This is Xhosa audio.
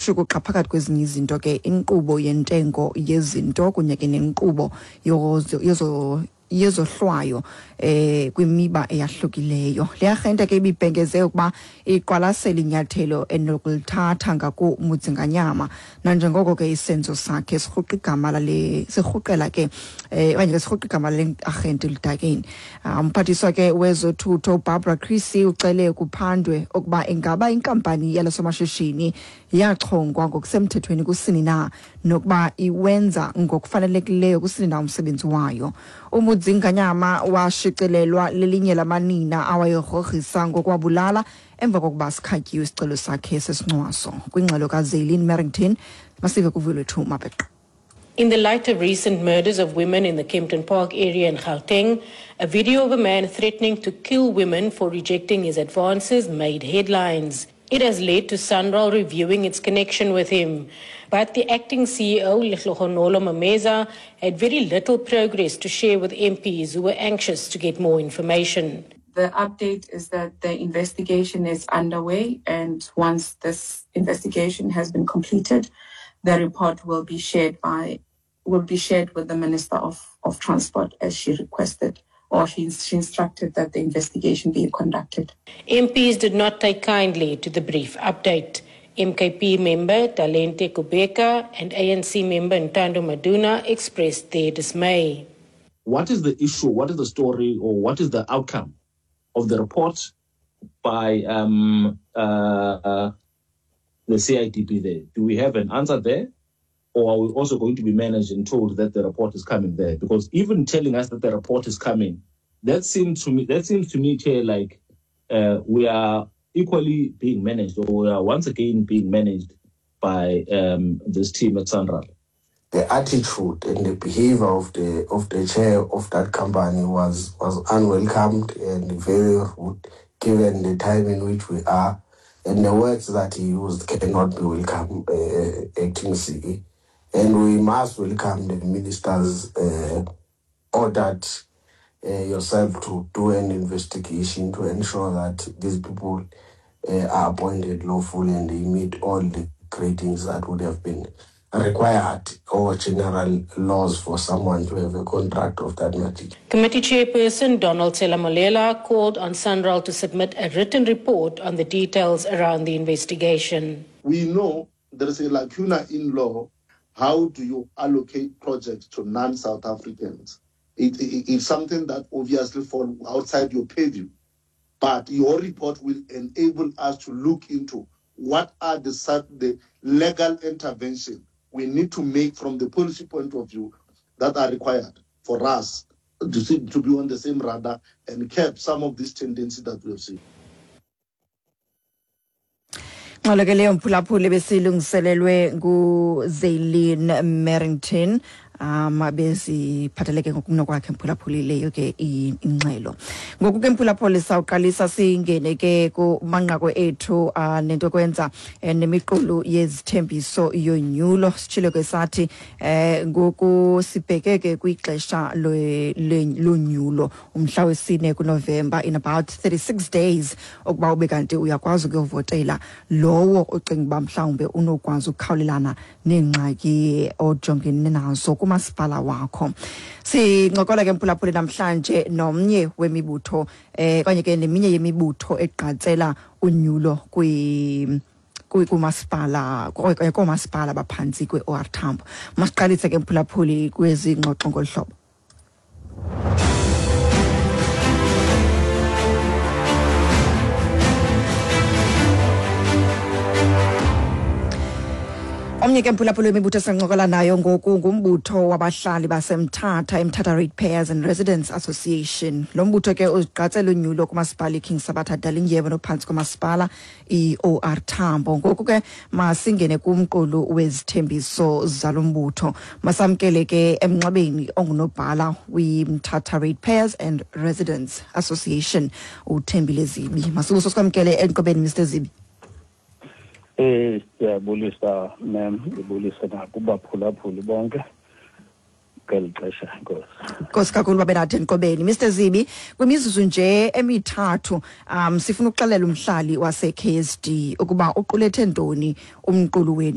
Ishukuxa phakathi kwezinye izinto ke inkqubo yentengo yezinto kunye ke nenkqubo yozo yezohlwayo eh kwimiba eyahlukileyo. Le arhente ke ibibhengeze ukuba iqwalasela inyathelo enokulithatha ngakuMudzinganyama nanjengoko ke isenzo sakhe sirhuqa igama lale sirhuqela ke eh okanye ke sirhuqa igama lale arhente eludakeni. Ah, umphathiswa ke wezothutho uBarbara Creecy ucele kuphandwe ukuba ingaba inkampani yalo somashishini yachongwa ngokusemthethweni kusini na nokuba iwenza ngokufanelekileyo kusini na umsebenzi wayo. UMudzinganyama washicilelwa lelinye lamanina awayegrogrisa ngokwabulala emva kokuba sikhatyiwe isicelo sakhe sesincwaso. Kwingxelo kaZaylin Merrington, masive kuvuyo lwethu Mabeqa. In the light of recent murders of women in the Kempton Park area in Gauteng, a video of a man threatening to kill women for rejecting his advances made headlines. It has led to Sanral reviewing its connection with him. But the acting CEO, Lehlohonolo Mameza, had very little progress to share with MPs who were anxious to get more information. The update is that the investigation is underway, and once this investigation has been completed, the report will be shared by will be shared with the Minister of, of Transport as she requested or she, she instructed that the investigation be conducted. MPs did not take kindly to the brief update. MKP member Talente Kubeka and ANC member Ntando Maduna expressed their dismay. What is the issue? What is the story? Or what is the outcome of the report by the CIDP there? Do we have an answer there? Or are we also going to be managed and told that the report is coming there? Because even telling us that the report is coming, that seems to me, that seems to me, Chair, like we are equally being managed, or we are once again being managed by this team at Sanral. The attitude and the behavior of the chair of that company was unwelcomed and very rude, given the time in which we are, and the words that he used cannot be welcome, acting CE. And we must welcome the minister's ordered yourself to do an investigation to ensure that these people are appointed lawfully and they meet all the gradings that would have been required or general laws for someone to have a contract of that magnitude. Committee Chairperson Donald Selamolela called on Sanral to submit a written report on the details around the investigation. We know there is a lacuna in law. How do you allocate projects to non-South Africans? It's something that obviously falls outside your purview, but your report will enable us to look into what are the legal intervention we need to make from the policy point of view that are required for us to be on the same radar and curb some of these tendencies that we have seen. Ngxelo ke leyo mphulaphuli besilungiselelwe nguZaylin Merrington beziphatheleke ngokunokwakhe mphulaphuli leyo ke ingxelo. Ngoku ke mphulaphuli sawuqalisa singene ke kumanqaku ethu nento kwenza nemiqulu yezithembiso yonyulo. Sitshilo ke sathi ngoku sibheke ke kwixesha lonyulo umhla wesine kuNovemba, in about 36 days ukuba ube kanti uyakwazi ukuyovotela lowo ucinga uba mhlawumbe unokwazi ukukhawulelana neengxaki ojongene nazo kumasipala wakho. Sincokola ke mphulaphuli namhlanje nomnye wemibutho okanye ke neminye yemibutho egqatsela unyulo kumasipala okanye koomasipala baphantsi kwe-OR Tambo. Masiqalise ke mphulaphuli kwezi ngxoxo ngolu hlobo. Omnye ke mphulaphuli wemibutho esincokola nayo ngoku ngumbutho wabahlali baseMthatha, iMthatha Ratepayers and Residents Association. Lo mbutho ke uzigqatsela unyulo kumasipala iKing Sabatha Dalindyebo nophantsi komasipala i-OR Tambo. Ngoku ke masingene kumqulu wezithembiso zalo mbutho. Masamkele ke emnxebeni ongunobhala weMthatha Ratepayers and Residents Association, uThembile Zibi. Masibuso sikwamkele enqobeni, Mr Zibi. Siyabulisa ma'am, ndibulise nakubaphulaphuli bonke ngeli xesha, Nkosi. Nkosi kakhulu babe nathi enqobeni. Mr Zibi, kwimizuzu nje emithathu sifuna ukuxelela umhlali wase-KSD ukuba uqulethe ntoni umqulu wenu.